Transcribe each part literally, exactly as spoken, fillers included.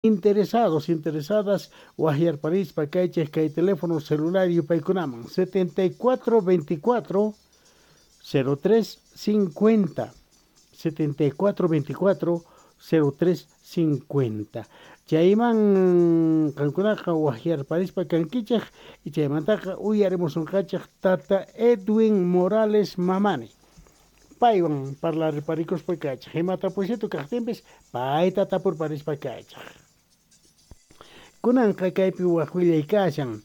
Interesados, interesadas, waqyarparispa kaychik kay teléfono celular yupaykunaman setenta y cuatro veinticuatro cero tres cincuenta, setenta y cuatro veinticuatro cero tres cincuenta. Chayman qankunaqa waqyarparispa kankichik y chaymantaqa uyarimusunqachik tata Edwin Morales Mamani. Paywan parlarparikuspa kaychik, imatapusitu kaqtinpis payta tapurparispa kaychik. Kunanqa kaypi waq willay kashan.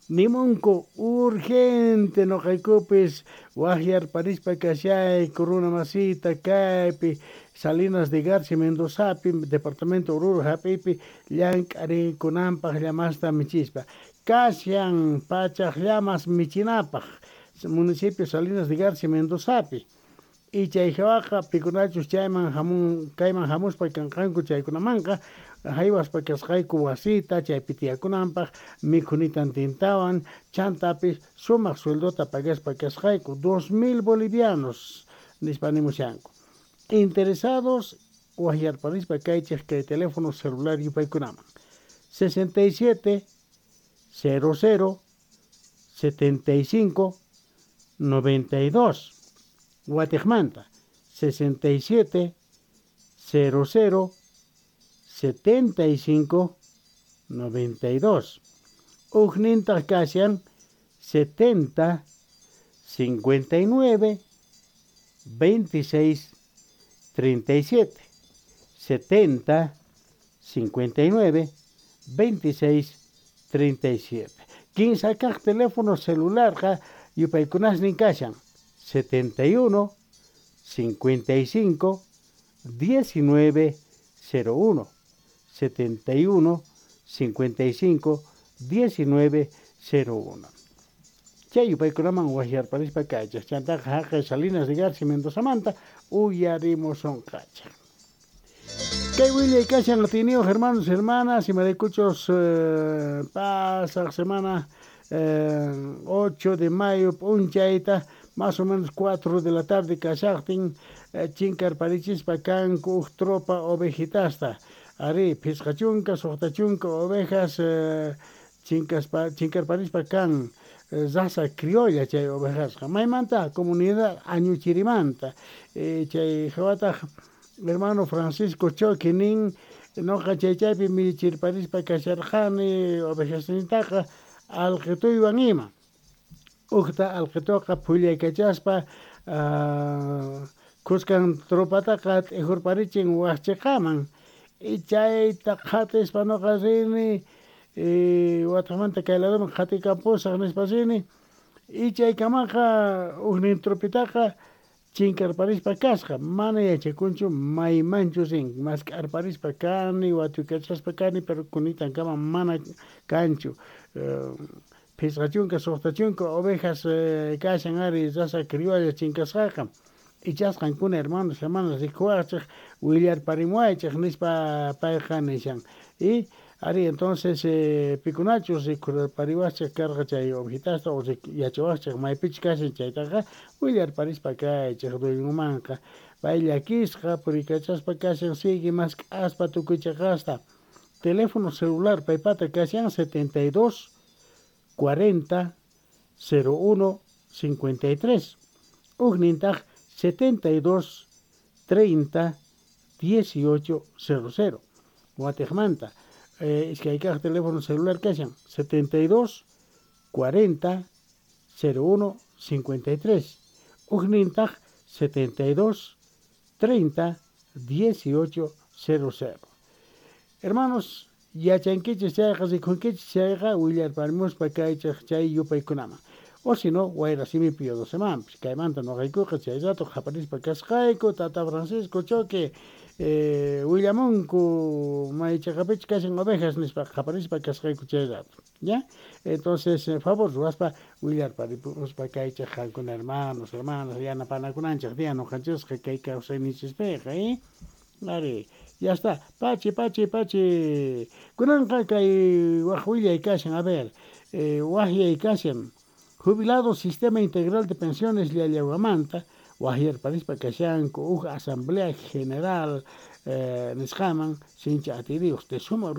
Nimunku urgente noqaykupis waqyarparispa kashayku runa masita kaypi Salinas de Garcia Mendozapi, departamento Oruro hap'ipi llank'arikunanpaq llamasta michispa. Kashan pachaq llamas michinapaq municipio Salinas de Garcia Mendozapi. Y chay hawaqa pikunachus chayman hamun, kayman hamuspa kanqanku chaykunamanqa haywaspa kasqayku wasita chaypi tiyakunanpaq mikhunitan tintawan chantapis sumaq sueldota pagaspa kasqayku dos mil bolivianos nispa nimushanku. Interesados waqyarparispa kaychik kay teléfono celular yupaykunaman sesenta y siete cero cero setenta y cinco noventa y dos. Guatemala sesenta y siete cero cero setenta y cinco noventa y dos. Ujninta kashan setenta cincuenta y nueve veintiséis treinta y siete. setenta cincuenta y nueve veintiséis treinta y siete. Quince kaq teléfono celular ja yupaykunasnin kashan setenta y uno cincuenta y cinco diecinueve cero uno, setenta y uno cincuenta y cinco diecinueve cero uno. Chay yupaykunaman waqyarparispa kaychik chantaqa haqay Salinas de Garcia Mendozamanta uyarimusunqachik. Kay willay kashan atiniyuq hermanos, hermanas, imaraykuchus eh, pasaq semana eh, ocho de mayo p'unchayta más o menos cuatro de la tarde kashaqtin eh, chinkarparichispa kanku uj tropa ovejitasta. Ari, phisqa chunka, suqta chunka ovejas eh, chinkaspa, chinkarparispa kan eh, raza criolla chay ovejasqa. Maymanta comunidad Añuchirimanta. Eh, chay hawataq hermano Francisco Choque nin noqa chay chaypi michirparispa kasharqani ovejasnintaqa alqituywan ima. Uqta alqituqa phullaykachaspa uh, kuskan tropataqa t'ijurparichin waqchiqaman y chayta qhatispa noqa rini y wataqmanta kay ladoman qhatikampusaq nispa rini y chaykamaqa ujnin tropitaqa chinkarparispa kasqa mana yachakunchu maymanchu rin mask'arparispa kani watuykachaspa kani pero kunitankama mana kanchu. Uh, Phisqa chunka, suqta chunka ovejas eh, kashan ari raza criolla chinkasqaqa. Ichasqankuna hermanos, hermanas rikuwaqchik willarparimuwaychik nispa payqa nishan. Y ari entonces eh, pikunachus rikurpariwaqchik karqa chay ovejitasta o yachawaqchik maypichus kashan chaytaqa willarparispa kaychik dueñomanqa. Pay llakisqa purikachaspa kashan sigue mask'aspa tukuy chiqasta. Teléfono celular paypata kashan setenta y dos cuarenta cero uno cincuenta y tres. Ujnintaq setenta y dos treinta dieciocho cero cero. Guatemala. Eh, iskay kaq teléfono celular kashan setenta y dos cuarenta cero uno cincuenta y tres. Ujnintaq setenta y dos treinta dieciocho cero cero. Hermanos, yachankichis chayqa rikunkichis chayqa willarparimuspa kaychik chay yupaykunaman. O si no, wayra simipi yodosemanpis. Kaymanta noqaykuqa chay rato qaparispa kasqayku tata Francisco Choque eh, willamunku maychaqapichus kashan ovejas nispa qaparispa kasqayku chay rato. ¿Ya? Entonces, eh, favor ruwaspa willarparimuspa kaychik qankuna hermanos, hermanas, yanapanakunanchik tiyan noqanchisqa kay kawsayninchispiqa, ¿eh? Ari, ya está. Pachi, pachi, pachi. Kunanqa kay waq willay kashan, a ver, eh, waqyay kashan. Jubilado Sistema Integral de Pensiones Llallahuamanta, waqyarparispa kashanku uj Asamblea General eh, nisqaman sinchi atiyniyuq de suma